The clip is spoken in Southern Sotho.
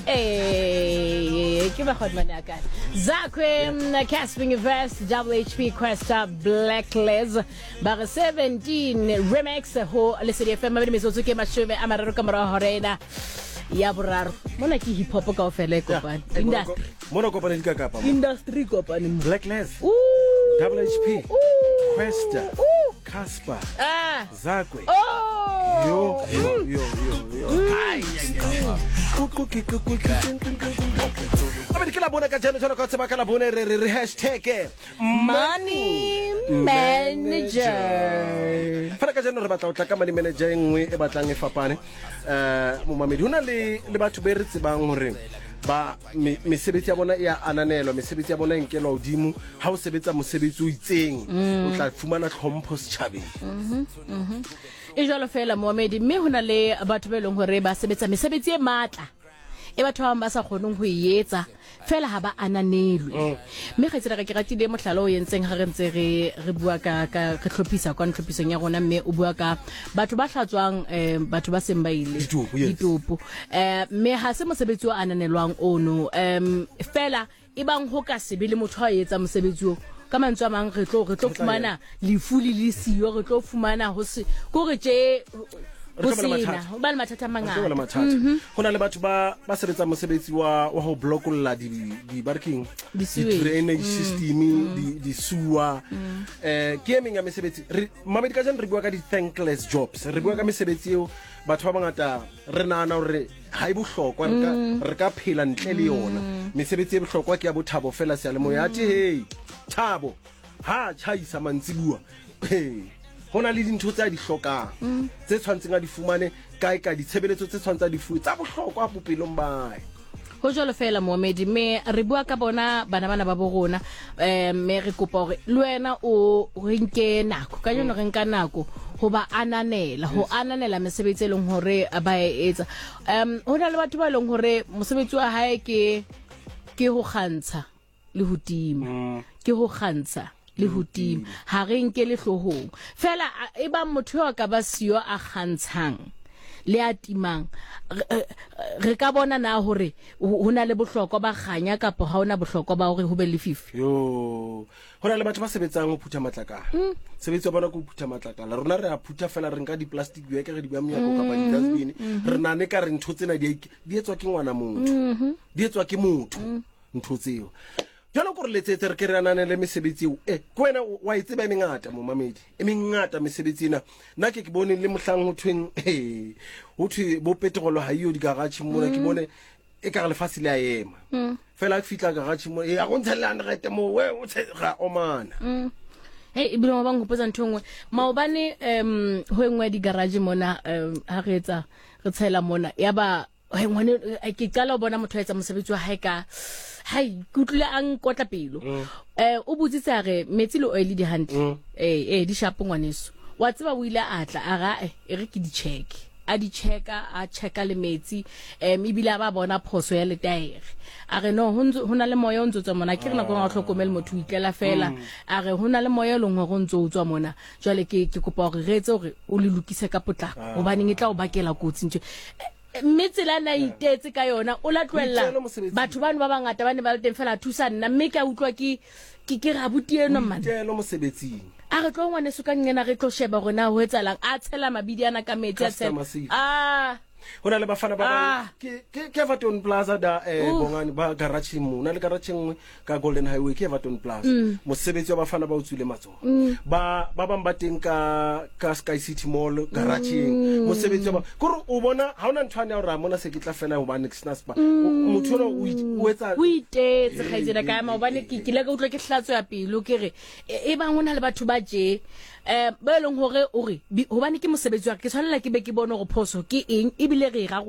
Ee, ke bakgotmane a kae Zakwe Casping Invest WHP Questa Blacklist ba re 17 remix ho Lesedi FM mabedi metsotso ke 30 ka morago hora ena ya boraro mona ke hip hop kaofela e kopane industry mona kopane di ka kapa mo. Industry kopane mo. Blacklist Ooh. Double HP Ooh. Questa Ooh. Casper Ah. Zakwe Oh. Yo yo yo yo yo. Abedi ke la bona ka jeno jalo ka tseba ka la bone re re re hashtag Money manager. Fela ka jeno re batla go tla ka money manager e nngwe e batlang e fapane. Eh momamedi ho na le le batho be re tsebang hore ba mesebetsi ya bona e a ananelwa, mesebetsi ya bona e nkelwa hodimo. Ha o sebetsa mosebetsi o itseng o tla fumana tlhompho setjhabeng. E jwalo fela moamedi, mme ho na le batho ba e leng hore ba sebetsa mesebetsi e matla e batho ba bang ba sa kgoneng ho e etsa fela ha ba ananelwe. Mme kgaitsedi ka ke ratile mohlala o entseng ha re ntse re re bua ka ka re hlophisa kwa tlhophisong ya rona, mme o bua ka batho ba hlatswang batho ba seng ba ile Ditopo, yes. ditopo. Mme ha se mosebetsi o ananelwang ono, fela e bang ho ka sebe le motho a etsa mosebetsi o ka mantswe a mang re tlo re tlo fumana lefu le le siyo, re tlo fumana ho se ko re tje Re ho tlo ba le sena mathata. ho ba le mathata a Re tlo ba le mangata. mathata. Ho na le batho ba ba sebetsang mosebetsi wa wa ho blokolla di di ba re keng Di-sewage. di-drainage system di di sewer. Ke e meng ya mesebetsi re mamedi ka jeno re bua ka di-thankless jobs, re bua ka mesebetsi eo batho ba bangata re nahana hore ha e bohlokwa, re ka re ka phela ntle le yona. Mesebetsi e bohlokwa ke ya bothabo fela seyalemoya athe hey Thabo ha a tjhaisa mantsibua, he ho na le dintho tse a di hlokang tse tshwantseng a di fumane kae kae, ditshebeletso tse tshwantseng a di fuwe tsa bohlokwa bophelong ba hae. Ho jwalo fela moomedi, mme re bua ka bona bana bana ba bo rona, mme re kopa hore le wena o re nke nako kajeno, re nka nako ho ba ananela, ho ananela mesebetsi e leng hore ba e etsa. Ho na le batho ba leng hore mosebetsi wa hae ke ke ho kgantsha le ho tima, ke ho kgantsha le ho tima, ha re nke le hloohong fela. E bang motho eo a ka ba siyo a kgantshang le a timang, re ka bona na hore ho na le bohlokwa ba kganya kapa ha ona bohlokwa ba hore ho be lefifi? Yo, ho na le batho ba sebetsang ho phutha matlakala. Sebetsi wa bona ke ho phutha matlakala. Rona re a phutha fela, re nka di-plastic bag re di beha monyako kapa di-dustbin. Re nahane ka re ntho tsena di di etswa ke ngwana motho, di etswa ke motho ntho tseo. Jwalo ko re letsetse re ke re ananele mesebetsi eo. Ke wena wa e tseba e mengata momamedi, e mengata mesebetsi ena. Nna ke ke bone le mohlang ho thweng ho thwe bo petrol ha iyo di-garage mona, ke bone e ka re lefatshe le a ema. Fela ke fihla garage mo, e a go ntsha le 100 mo, we o tshe ra omana. Hey, ebile ba nkgopotsa ntho e nngwe maobane, ho e nngwe ya di-garage mona, ha re etsa re tshela mona, ya ba hey, ngwane, ke qala ho bona motho a etsa mosebetsi wa hae ka hai, ke utlwile a nkotla pelo. O botsitse a re metsi le oil di hantle, di sharp ngwaneso wa tseba. O ile a tla a ra e re ke di check, a di checka, a checka le metsi, ebile a ba bona phoso ya letaere. A re no, ho na le moya o ntso tswa mona. Ke re nako e o hlokomele motho o itlela fela. A re ho na le moya e leng hore o ntso o tswa mona, jwale ke kopa hore re etse hore o le lokise ka potlako, hobaneng e tla o bakela kotsi ntho. Mme tsela na itetse ka yona, o la tlohella Boitelo mosebetsing. Batho bano ba bangata ba ne ba le teng fela, a thusa nna, mme ke a utlwa ke ke ke re abuti eno man. Boitelo mosebetsing. A re tlo ngwaneso ka nqena, re tlo sheba hore na ho etsahalang, a tshela mabidi ana ka metsi, a tshela Customer service. Ah. Ho na le bafana ba bang Ah. ke Everton Plaza da Oof. bongane ba garage mo na le garage e nngwe ka Golden Highway ke Everton Plaza. Mosebetsi wa bafana ba o tswile matsoho. Ba ba bang ba teng ka ka Sky City Mall garage-eng. Mosebetsi wa ba kore o bona ha ona ntho ane ya hore a mona se ke tla fela hobane ke sena spa. Motho ona o etsa O itetse kgaitsedi ka maobane, ke kile ka utlwa ke hlatswa pelo, ke re e bang ho na le batho ba tje ba e leng hore o re hobane ke mosebetsi wa ka, ke tshwanela ke be ke bone hore phoso ke eng ebile re e rarolla.